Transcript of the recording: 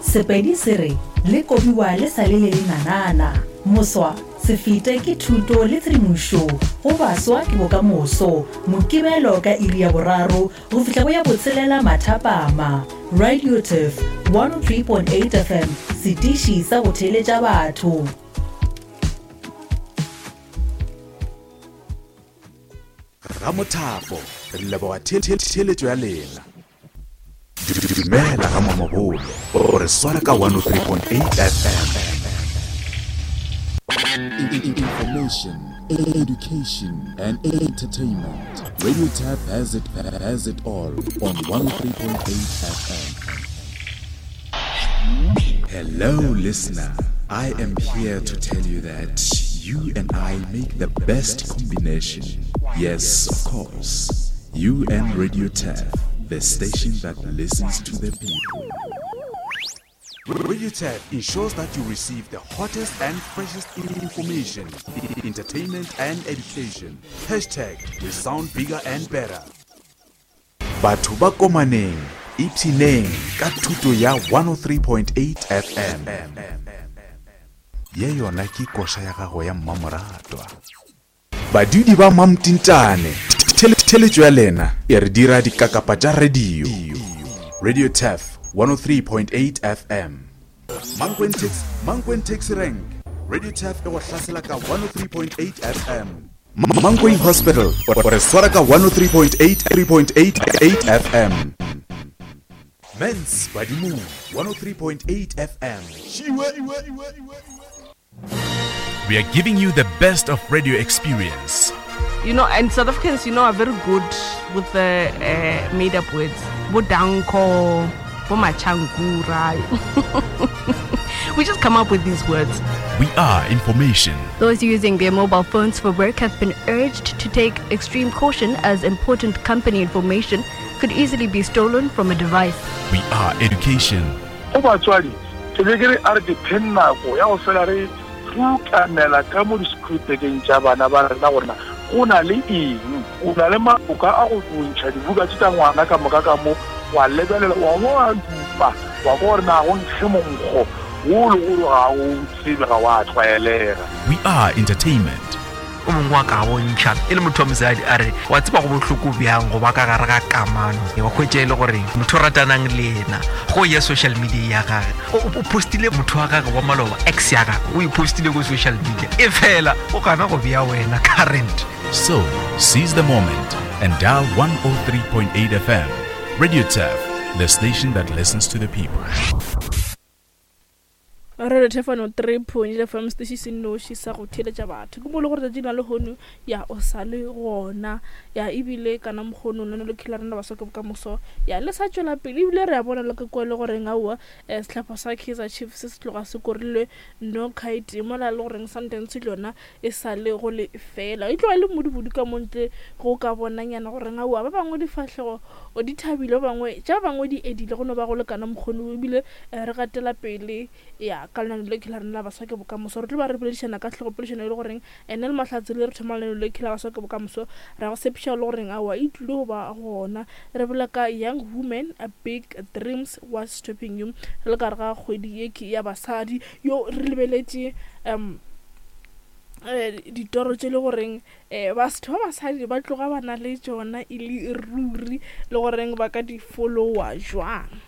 Sepedi se re, Le kobiwa le sa le le lenanana. Moswa, se fete ke thuto le tshedimošo go baswa ke bokamoso. Mokibelo ka iri ya boraro go fihla go ya botshelela mathapama. Radio Turf, 103.8 FM, setiši sa go theeletša batho. Ramothapo, re leboga theeletšo ya lena. Dumela ga Mamabolo, o re swara ka 103.8 FM. Information, education and entertainment. Radio Tap has it, has it all on 103.8 FM. Hello, listener. I am here to tell you that you and I make the best combination. Yes, of course. You and Radio Tap, the station that listens to the people. Radio Tap ensures that you receive the hottest and freshest information, entertainment, and education. Hashtag we sound bigger and better. Batho ba komaneng, ipshineng ka thuto ya 103.8 FM. Ye yona ke koša ya gago ya mmamoratwa. Badudi ba Mamtintane, theletšo ya lena e re dira dikakapa tša radio. Radio Turf 103.8 FM. Mankweng Taxi, Mankweng Taxi Rank. Radio Turf e go hlasela ka 103.8 FM. Mankweng Hospital, o re swara ka 103.8 3.8 FM. Mens Badimong 103.8 FM. We are giving you the best of radio experience. You know, and South Africans, you know, are very good with the uh, made up words. Bodanko, Bomachankura. we just come up with these words. We are information. Those using their mobile phones for work have been urged to take extreme caution as important company information could easily be stolen from a device. We are education. Go batswadi, ke be ke re a re dipheng nako ya go fela re rutamela ka mo disekhurupekeng tša bana ba rena gore na go na le eng. O na le maboka a go ntšha dibuka tše tša ngwana ka moka ka mo, wa lebelela, wa bo wa dupa, wa kwa gore na go nkge monkgo wo le gore ga o tsebe, ga wa tlwaelega. We are entertainment. O mongwe wa ka bontšha e le motho wa mosadi a re wa tseba go bohloko bjang go ba ka gare ga kamano wa hwetša e le gore motho o ratanang le yena go ya social media ya gage o postile motho wa gage wa maloba ex ya gage o e postile ko social media e fela o gana go bea wena current. So, seize the moment and dial 103.8 FM. Radio Turf, the station that listens to the people. Re re Thefano 3.8 FM setiši se nnoši sa go theeletša batho. Ke mo le gore tšatši la lehono ya o sa le gona ya ebile kana mokgono lona le khela rena baswa ke bokamoso ya le sa tšwela pele ebile re a bona le ka kua le goreng aowa eh, sehlopha sa Kaizer Chiefs se tloga se korilwe no kite mola le goreng Sundowns le yona e sa le go le fela e tloga e le modibudu ka montle go ka bonanyana goreng aowa ba bangwe difahlego o di thabile ba bangwe tša ba bangwe di edile go no ba go lekana mokgoni ebile eh, re gatela pele ya ka lenano le la rena la baswa ke bokamoso re tlo ba re boledišana ka tlhogopoledišano e le goreng ene le mahlatse le re thoma lenano le la baswa ke bokamoso ra go tshepiša le goreng aowa e tlile go ba gona re bolela ka young women a big dreams what's stopping you re le ka re ga kgwedi ye ke ya basadi yo re lebeletše um eh, ditoro tše le goreng um batho ba basadi ba tloga ba na le tšona e le ruri le goreng ba ka di followa jwang.